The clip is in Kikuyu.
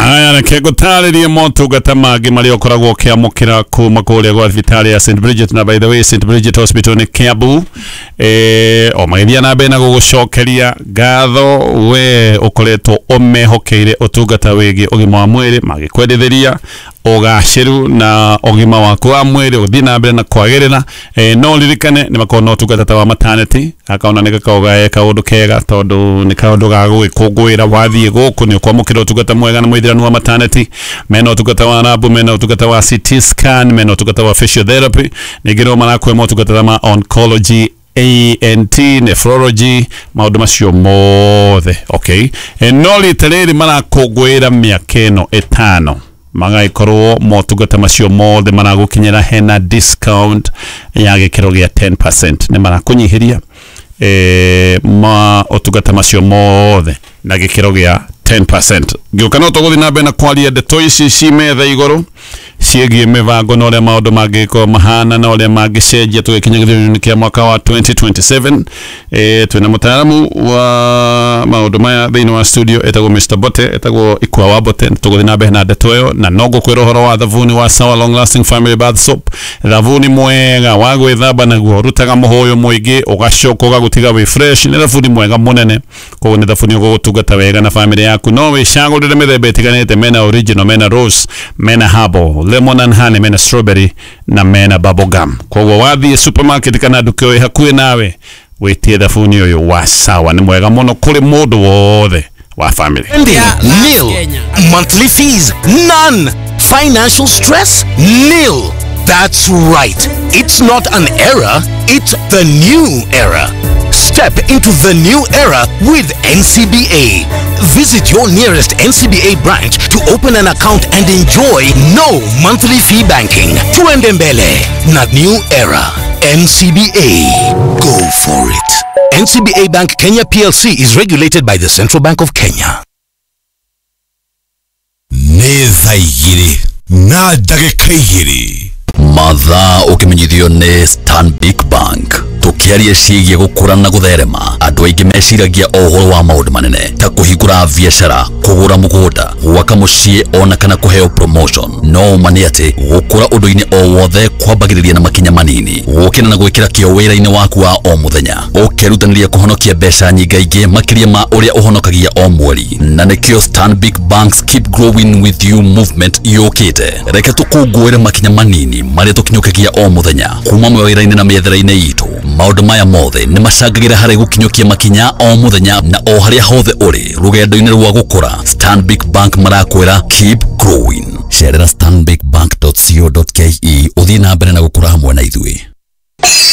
Aya, reke ngũtarĩrie motungata mangĩ marĩa ũkoragwo ũkĩamũkĩra kuma kũrĩa gwa thibitarĩ ya St Bridget. Na by the way, St Bridget Hospital nĩ Kiambu, o magĩthiĩ na mbere na gũgũcokeria ngatho we ũkoretwo ũmehokeire ũtungata wĩgiĩ ũgima wa mwĩrĩ, magĩkwendithĩria ũgacĩru na ũgima waku wa mwĩrĩ ũthiĩ na mbere na kwagĩrĩra. No ririkane nĩ makoragwo na ũtungata ta wa maternity. Akaona nĩ gakoragwo ge kaũndũ kega tondũ nĩ kaũndũ ga gũgĩkũngũĩra. Wathiĩ gũkũ nĩ ũkwamũkĩra ũtungata mwega na mũithĩranu wa maternity. Mena ũtungata wa lab, mena ũtungata wa CT scan, mena ũtungata wa physiotherapy. Ningĩ no marakũhe motungata ma oncology, ENT, nephrology, maũndũ macio mothe. Okay, no rita rĩrĩ marakũngũĩra mĩaka ĩno 5, magagĩkorwo motungata macio mothe maragũkinyĩra hena discount ya gĩkĩro gĩa 10%. Nĩ marakũnyihĩria ma ũtungata macio mothe na gĩkĩro gĩa 10%. Ngĩũka no tũgũthiĩ na mbere na kwaria ndeto ici ci metha igũrũ ciĩgiĩ mĩbango na ũrĩa maũndũ mangĩkorwo mahana na ũrĩa mangĩcenjia tũgĩkinya gĩthurano-inĩ kĩa mwaka wa 2027. Twĩna mũtaaramu wa maũndũ maya thĩinĩ wa studio etagwo Mr. Bote, etagwo Ikua wa Bote. Tũgũthiĩ na mbere na ndeto ĩyo, na no ngũkwĩra ũhoro wa thabuni wa Sawa Long Lasting Family Bath Soap, thabuni mwega wa gwĩthamba naguo, rutaga mũhũyũ mũingĩ ũgacoka ũgagũtiga wĩ fresh. Nĩ thabuni mwega mũnene, koguo nĩ thabuni ũgũgũtungata wega na family yaku. No wĩcagũrĩre mĩthemba ĩtiganĩte: mena original, mena rose, mena herbal, lemon and honey, mena strawberry na mena bubble gum. Koguo wathiĩ supermarket kana nduka ĩ hakuhĩ nawe, wĩtie thabuni ũyũ wa Sawa. Nĩ mwega mũno kũrĩ mũndũ wothe wa family. Spending, nil. Monthly fees, none. Financial stress, nil. That's right. It's not an era, it's the new era. Step into the new era with NCBA. Visit your nearest NCBA branch to open an account and enjoy no monthly fee banking. Tuende mbele na new era. NCBA. Go for it. NCBA Bank Kenya PLC is regulated by the Central Bank of Kenya. Nĩ thaa 2:02. Mathaa ũkĩmenyithio nĩ Stanbic Bank. Tũkĩaria ciĩgiĩ gũkũra na gũtherema, andũ aingĩ meciragia o ũhoro wa maũndũ manene ta kũhingũra biacara, kũgũra mũgũnda, gwaka mũciĩ ona kana kũheo promotion. No ũma nĩ atĩ gũkũra ũndũ-inĩ o wothe kwambagĩrĩria na makinya manini, gũkĩra na gwĩkĩra kĩo wĩra-inĩ waku wa o mũthenya, ũkerutanĩria kũhonokia mbeca nyingaingĩ makĩria ma ũrĩa ũhonokagia o mweri. Na nĩkĩo Stanbic Bank's Keep Growing With You movement yũkĩte. Reke tũkũngũĩre makinya manini marĩa tũkinyũkagia o mũthenya kuma mawĩra-inĩ na mĩethere-inĩ itũ. Maũndũ maya mothe nĩ macangagĩra harĩ gũkinyũkia makinya o mũthenya na o harĩa hothe ũrĩ rũgendo-inĩ rwa gũkũra. Stanbic Bank marakwĩra keep growing. Cerera stanbicbank.co.ke ũthiĩ na mbere na gũkũra hamwe na ithuĩ.